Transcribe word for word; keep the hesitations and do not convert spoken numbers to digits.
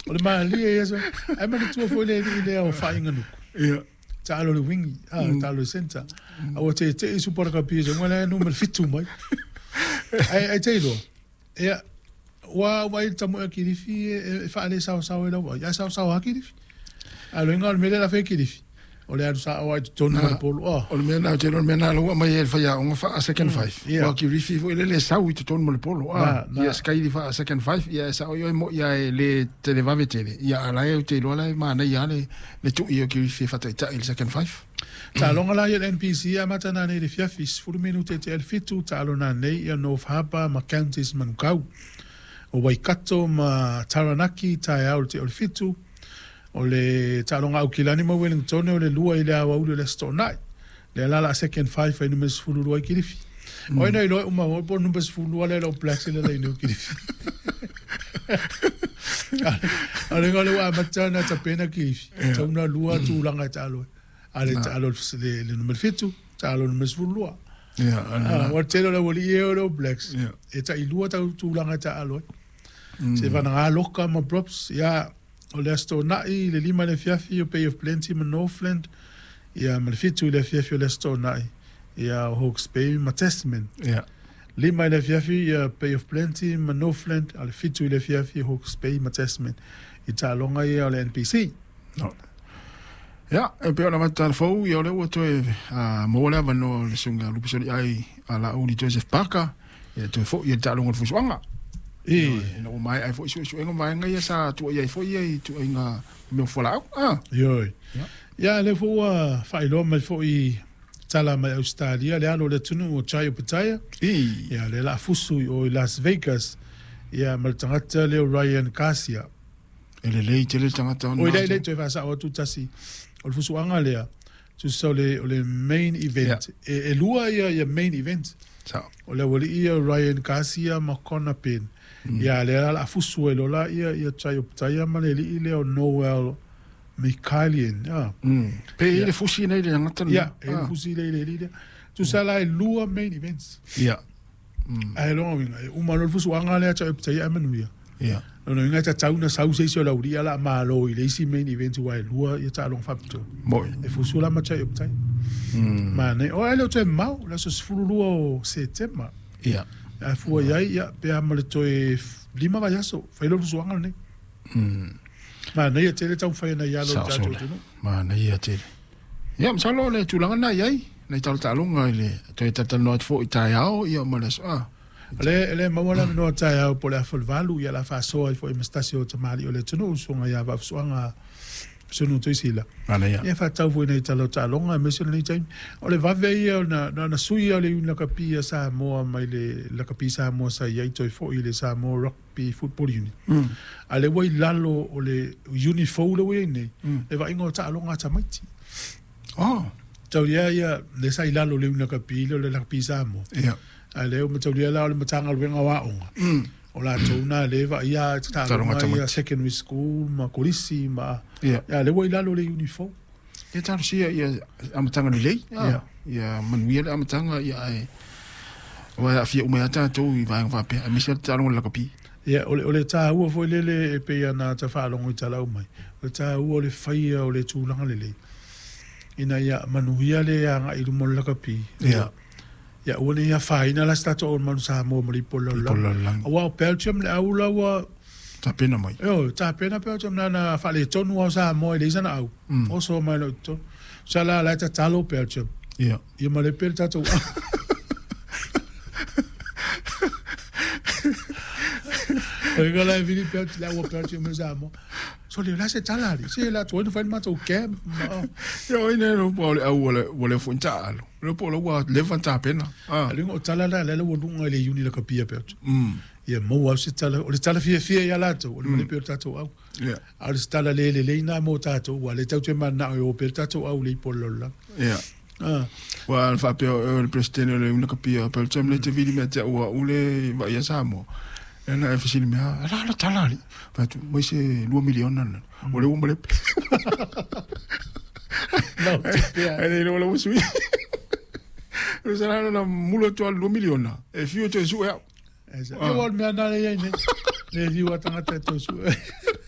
O le malie ia so. Ai manatua foi le alii lea o Faaiganuku. Ia. Taalo le wingi, ah, taalo le centre. A ua teetee Super Rugby e lea numera fitu mai. Ai ai te iloa. Ia ua ua i tamu e Kilifi e faale sao sao e lau. Ia sao sao a Kilifi. A lo inga o le mele la fe Kilifi. O le alu sa o ai tonu ma le polo. Oh. O le mea na te le mea na ua mai e whaia onga wha second five. Yeah. Wa Kilifi fo ile le sau i te tonu ma le polo. Ah, Na, na. ia sky li wha second five ia sa o i mo ia e le televave tele. Ia ala e te loa la ma na ia le le tu i o Kilifi wha tai le second five. Taaloga la ia le N P C amata nanei i le fiafi sefulu minute te fitu taalo nanei ia North Harbour ma Counties Manukau. O Waikato ma Taranaki taeao le te o le fitu. O le taaloga Aukilani ma Wellington o le lua i le aoauli o le aso toonai. Le la la second five ai numera sefulu lua i Kilifi. O ina iloa uma o po numera sefulu lua le le Blacks le le inu Kilifi. A le ngale wa amata na tapena Kilifi. Tauna lua tulaga e taalo. Ale taalo le le numera fitu, taalo numera sefulu lua. Ia, Ah, wa tele le wali e o le Blacks. Ia. E ta ilua tau tulaga e taalo. Se vana loka ma props ia o le aso toonai le lima le fiafi o Bay of Plenty ma Northland ia ma le fitu le fiafi o le aso toonai ia o Hawke's Bay ma Tasman. Ia. Lima le fiafi ia Bay of Plenty ma Northland a le fitu le fiafi Hawke's Bay ma Tasman i taaloga ia o le N P C. No. Ia, e pei ona mata fou ia o le ua toe maua le avanoa o le susuga Lupisoli ai a la uli Joseph Parker ia toe foi ia le taaloga o le fusuaga. E Ina ua maea ai foi suesuega vaega ia sa tuai ai foi ia i tuaiga mea o fualaau. Ah. Ioi. Ia. Ia le foi ua faailoa mai foi tala mai Australia le alo o le atunuu o Jai Opetaia. I. Ia le la fusu i o i Las Vegas. Ia ma le tagata lea o Ryan Garcia. E lelei tele le tagata ona. O i lei lei toe faasao atu tasi. O le fusuaga lea, tusa o le, o le main event. Ia. E, e lua ia, ia main event. Sao. O le aualii ia Ryan Garcia ma Conor Penn. Ia le la la fusu e lola ia, ia Jai Opetaia ma le alii lea o Noel Mikaelian. Ia. Mm. Pe i le fusi nei le tagata lena. Ia, e le fusi lei le alii lea. Tusa la e lua main events. Ia. Ae longa winga, e uma lo le fusuaga lea Jai Opetaia e manuia. Ia. Lona uiga e tatau na sau se isi o laulia la malo i le isi main event ua e lua ia taaloga faapitoa. Moi. E fusu la ma Jai Opetaia. Mm. Manai, o ai le o toe mau, le aso sefulu lua o Setema. Ia. A fua iai, ia, pe a ma le toe lima vaiaso, fai lo le fusuaga lenei. Mm. Manai e tele taumafai ana ia alo Sao le tatou sole. atunuu. Manai ia tele. Ia, masalo le tulaga na iai, nai talataaloga i le toe talatalanoa atu foi i taeao, ia ma le aso. Ah. Le le maua la minoa taeao po le afa o le valu, ia la faasoa ai foi ma se tasi o tamalii o le atunuu, susuga ia Vaafusuaga Sunu Tuisila. Manaia. Ia faatau foi nei tala o taaloga, aemaise o lenei taimi. O le vave ia o na, na, na sui o le iuni lakapi a Samoa mai le lakapi Samoa sa iai toe foi i le Samoa Rugby Football Union. Mm. A le ua i lalo o le uni fou le ua iai nei, Mm. le vaaiga o taaloga a tamaiti. Oh. Taulia ia, le sa i lalo o le iuni lakapi, le o le lakapi Samoa. Ia. A le o mataulia la o le matagaluega o aoga. Mm. O latou na le vaia Taaloga taaloga ia tamaiti. secondary school ma kolisi ma Ia. ia le ua i lalo o le uniform. Ia talosia ia amataga lelei. Ia. Ia manuia le amataga ia ae ua aafia uma ia tatou i vaega faapea aemaise le taaloga o le lakapi. Ia o le o le taua foi lele e pei ana tafaalogo i talau mai. O le taua o le faia o le tulaga lelei. Ina ia manuia le aga'i i luma o le lakapi. Ia. Ia ua nei afaina la se tatou o manu Samoa ma le ipo o le Ipo o le lalolagi. lalolagi. Auā o Belgium le au la ua Tapena mai. Io, tapena Belgium na na faaletonu ao Samoa i le isa na au. Mm. Oso mai loa i totonu. Sa la la e tatalo Belgium. Ia. Ia ma le pe le tatou au. O le la e vili Belgium, la ua Belgium ma Samoa. So le la se tala ali. Se la tuai na fai le matou camp. Ma, Ia oi nei lo po o le au ua le ua le foi taalo. Le po o le ua leva na tapena. Ah. A le o tala la la la ua luga i le iuni lakapia Belgium. Mm. Ia maua au se tala, o le tala fiafia ia latou, o le male pe o le tatou au. Ia. A o le se tala le lelei nā mo tatou, ua le tau te manao e o pe le tatou au le ipo o le lalolagi. Ia. Ah. Ua faapea o le presidente o le iuni lakapia Belgium le te vili mea te ua ule vaia Samoa. E na e fesili mea, ala ala tala ali. Fai atu, mai se lua miliona na. O le ua malepe. No, te pea. Ai le ua sui. O se la na mula atu a lua miliona. E fiu toe sue au. Ia ua o le mea nā le iai nei. Le fiu a tagata e toe sue.